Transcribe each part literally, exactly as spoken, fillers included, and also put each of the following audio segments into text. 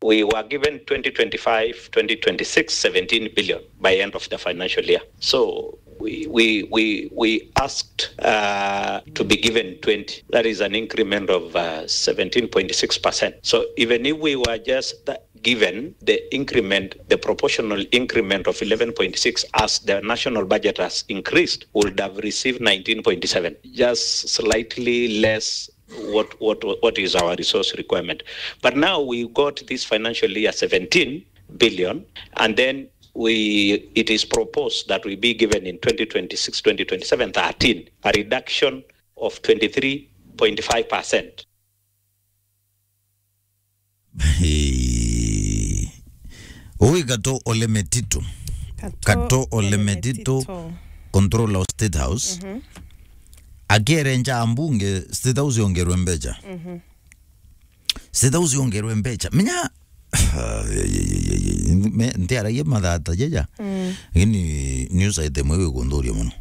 We were given twenty twenty-five, twenty twenty-six, seventeen billion by end of the financial year. So we, we, we, we asked uh, to be given twenty. That is an increment of uh, seventeen point six percent. So even if we were just given the increment, the proportional increment of eleven point six, as the national budget has increased, we would have received nineteen point seven, just slightly less what, what, what is our resource requirement. But now we got this financial year seventeen billion, and then we, it is proposed that we be given in twenty twenty-six, twenty twenty-seven, thirteen, a reduction of twenty-three point five percent. Hey. Ui Kato Ole Metito. Kato Ole Metito, controller of State House. Akiere nja mbunge, State House yongerwe mbeca. State House yongerwe mbeca. Menya, me- ntiaragia mathata jeja. Lakini news item iu ikunturia muno.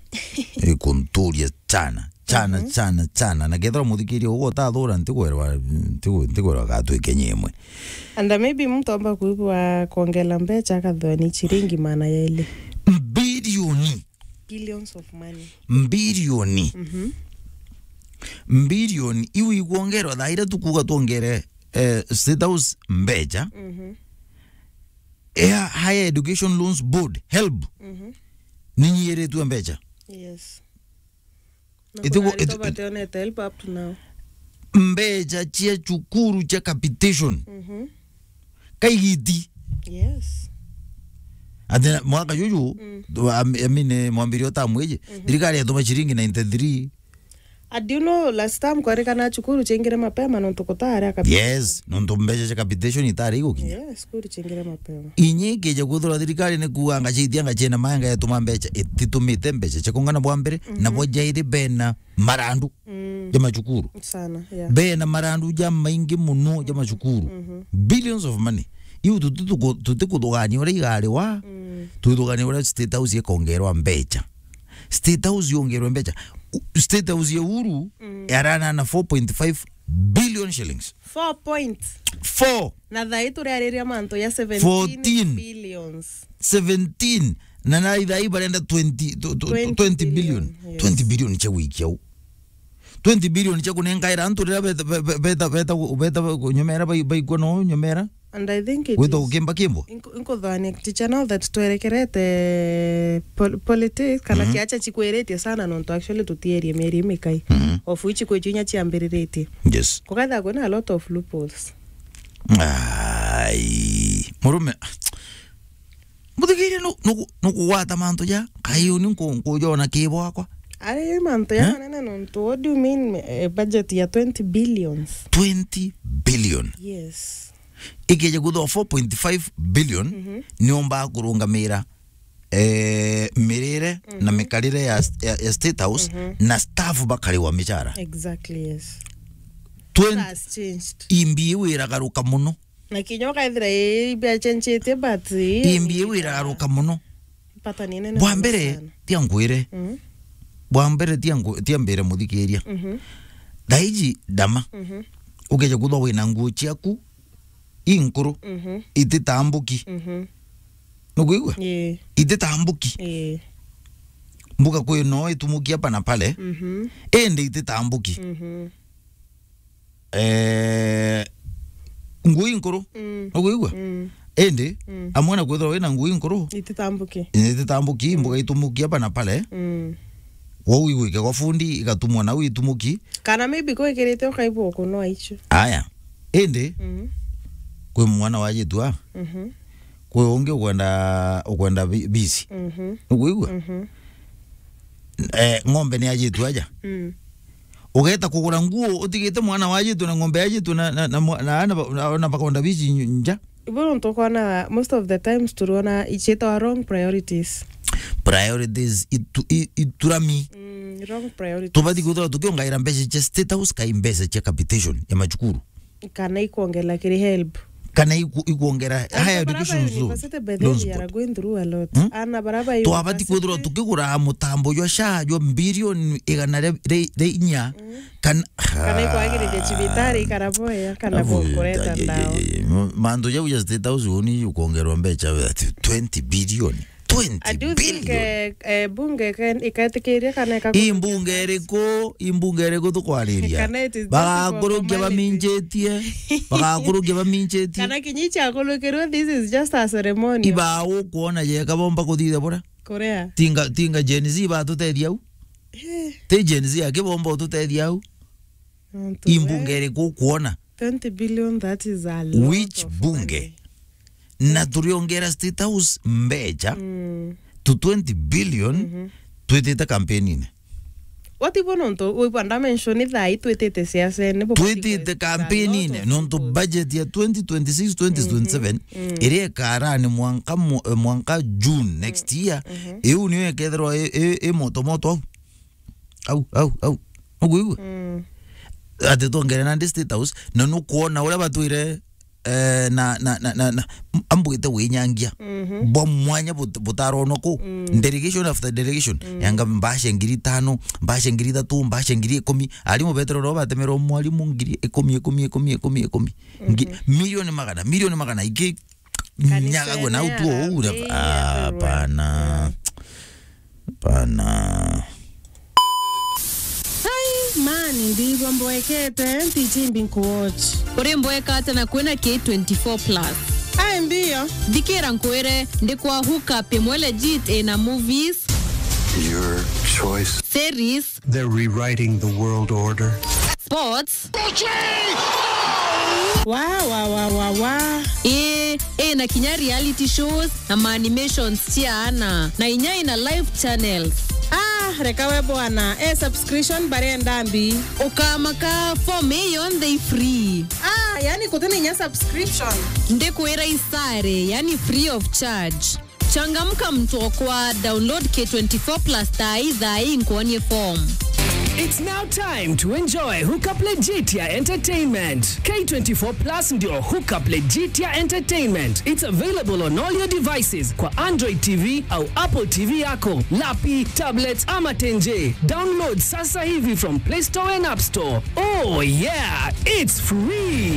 Ikunturia chana, chana, chana, chana. Na kethira muthikiria ugo utathura, ntigwerwa, ntigu- ntigwerwa gatwike nyemwe. And maybe mtu amba kuigua kuongela mbeca akathwa ni chiringi maana yeli. Mbilioni. Billions of money. Mbilioni. Mbilioni iu ikuongerwa thaa iria tukuuga tuongere, eh, State House mbeca. Air Higher Education Loans Board, helb, ninyiiritue mbeca. Yes. Na Itigu- kuna arutwo iti- bationete help up to now. Mbeca cia cukuru cia capitation. Kaigiti. Yes. Ati mwaka juju, tu- am- amine mwambirio tamu iji, thirikari yatuma ciringi ninety-three. And do you know, last time kwarikana cukuru ciaingire mapema nontu kutaari kabisa. Yes, nontu mbeca cia capitation itari igukinya. Yes, cukuru ciaingire mapema. Inyi kija kwithirwa thirikari ni kuuga ngaciithia ngaciena maenga yatuma mbeca, ititumite mbeca cia kungana bwa mbere, na bwa jairi bena marandu ja macukuru. Sana, yeah. Bena marandu ja maingi muno ja macukuru. Billions of money. Iu tuti- tuku- tutikuthugania uria igari wa, tuthugania uria State House ikongerwa mbeca. State House yongerwe mbeca. U- State House ya Uhuru yarana na four point five billion shillings. Four point. Four. Na thaa ii turiariria mantu ya seventeen billions. Fourteen. Seventeen. Na na thaa ii barenda twenty, tw- tw- twenty billion. Yes. Twenty billion cia gwikia u. Twenty billion cia kunengaira antu riria beta, beta, beta, beta, beta nyomera bai- baikua no nyomera. And I think it gwita is gukimba kimbo. Inko- inkothania ticha now that twerekerete pol- politics kana ciacha chikwiritie sana nontu actually tutierie mieri imikai. Of which kwi chinya chiambiriritie. Yes. Kukatha kwina a lot of loopholes. Ai. Murume. Muthikirie nu- nuku- nukugwata mantu ja, kai uni nku- nkujona ki bwakwa. Ari mantu ya manene nontu, what do you mean, eh, budget ya twenty billions? Twenty billion. Yes. Ikija kuthwa four point five billion, niumba kurungamira, eh, mirire na mikarire ya, ya, ya State House, na staff bakariwa michara. Exactly, yes. Twenty, has changed. Imbi iwiragaruka muno. Na kinya ukaithira ii biachenjitie, but ii imbi iu iragaruka muno. Pattern inene. Bwa mbere, tia nkwire. Bwa mbere, tia nku- tia mbire muthikiria. Thaiji ndama. Ukeja kuthwa wina nguo ciaku inkuru, ititambuki. Nukwigua? Ii. Ititambuki. Ii. Mbuga kwi no itumuki hapa na pale. Indi ititambuki. Eh, nguo inkuru. Nukwigua? Indi, amwe na kwithirwa wina nguo inkuru, ititambuki. Ititambuki, mbuga itumuki hapa na pale. Wou igwike gwa fundi, igatumwa nau itumuki. Kana maybe kwikirite ukaibwa ukunoa icio. Aya. Indi, kwi mwana wa jitua. Kwi ungi ukwenda, ukwenda bi- bisi. Nukwigua? Eh, ng'ombe ni ajitwe aja. Ugeta kugura nguo utigite mwana wa ajitwe na ng'ombe ya ajitwe na, na, na, mwa- na, na, na, na bakonda bici nja. Ibo nontu ukona most of the times turiona icietwa wrong priorities. Priorities itu, i- iturami. Mm, wrong priorities. Tubati kwithirwa tukiongaira mbeca cia State House kai mbeca cia capitation ya macukuru. Kana ikwongela kiri help. Kana iku-, ikuongera higher education loan. Loans board. Are going through a lot. Hmm? Ana baraba yu twabati kwithirwa tukigura mutambo jwa sha jwa bilioni igana ria, ria, ria inya. Mm. Kana, kana ikwagiriria cibitari ikara boya, kana abu-, bokureta ye, ye, ndawa. Ye, ye. Mantu jau ja State House uni ukongerwa mbecha ati twenty billion. Twenty billion. I do think, eh, eh, bunge ken-, iketikiria kana ikakurukia. I mbunge iriku, i mbunge iriku tukwariria? Kana it is just for formality. Bagakurukia baminjitie, bagakurukia baminjitie. Kana kinyi ciakurukirwe, this is just a ceremony. Iba ukwona jeka bomba kuthithia bura? Kuria? Tinga, tinga Gen Z batutethia au. Eh. Ti Gen Z akibomba ututethia au. Antu i mbunge iriku ukwona? Twenty billion, that is a lot of money. Which bunge? Na turiongera State House mbecha, mm, to twenty billion, mhm, twitite campaign-ini. Wati bo nontu, wibwa ndamention thaa ii twitite siasene, bubati. Twitite campaign-ini, nontu budget ya twenty twenty-six, twenty twenty-seven, mhm, mm, iria ikarani mwanka mu-, eh, mwanka June next year, mhm, iu niyo ikethirwa i, i, i moto moto au. Au, au, au. Nukwigua? Mm. Ati twongere nandi State House, na nukwona uria batwire, eh, na, na, na, na, na, ambwite winyangia. Mhm. Bwa mwanya but-, butaronwa ku. Mm. Delegation after delegation. Mm. Yanga mbasha ngiri itano, mbasha ngiri ithatu, mbasha ngiri ikumi. Arimu betero ro batemerwo mwarimu ngiri ikumi, ikumi, ikumi, ikumi, ikumi. Ngi-, mhm, milioni magana, milioni magana iki. Kanisa nyagagwe na utuo uu na, ah, everywhere. Hapana. Hapana. Ai, man, ndigwa mboekete, ntichimbi nkuwatch. Uri mboeka ata na kwina K twenty-four plus? Ai, mbio. Thikira nkwire, ndi kwa hook up imwe legit ina movies. Your choice. Series. They're rewriting the world order. Sports. Wa, wa, wa, wa, wa. Ii, ii, na kinya reality shows na ma animations cia ana, na inya ina live channels. Ah, reka we bwana, e subscription barenda mbi. Ukamaka, form ii yonthe i free. Ah, yani kutina inya subscription. Ndikwira isare, yani free of charge. Changamka mtu okwa, download K twenty-four plus thaa ii, thaa ii nkuonie form. It's now time to enjoy Hookup Legitia Entertainment. K twenty-four plus ndio Hookup Legitia Entertainment. It's available on all your devices kwa Android T V au Apple T V yako, lapi, tablets ama tenje. Download sasa hivi from Play Store and App Store. Oh yeah, it's free.